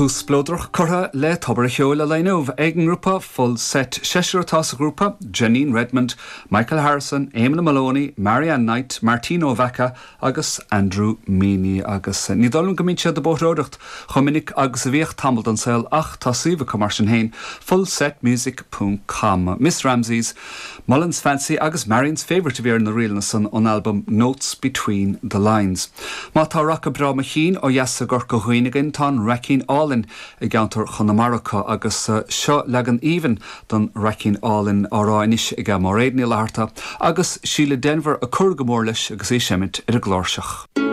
Tús spleodrach curtha le Tobar a' Cheoil an lae inniu ag an ngrúpa Full Set. Seisear atá sa ghrúpa, Janine Redmond, Michael Harrison, Eamon Moloney, Marianne Knight, Martina Ó Mheachair agus Andrew Meaney. Agus ní dóigh liom go mbíonn siad ag bóithreoireacht chomh minic agus a bhíodh tamall den saol ach tá suíomh acu mar sin féin, fullsetmusic ponc com. Miss Ramsey's Mullen's Fancy agus Marion's Favourite a bhí ar na ríleanna san ón albam Notes Between the Lines. Má tá raca breá mo chinn ó dheas i gCorca Dhuibhne againn tá an Raicín Álainn i gceantar Chonamara acu agus seo leagan aoibhinn den Raicín Álainn á rá anois ag Máiréad Ní Fhlatharta agus Síle Denvir ag cur go mór leis agus í ag seimint ar an gcláirseach.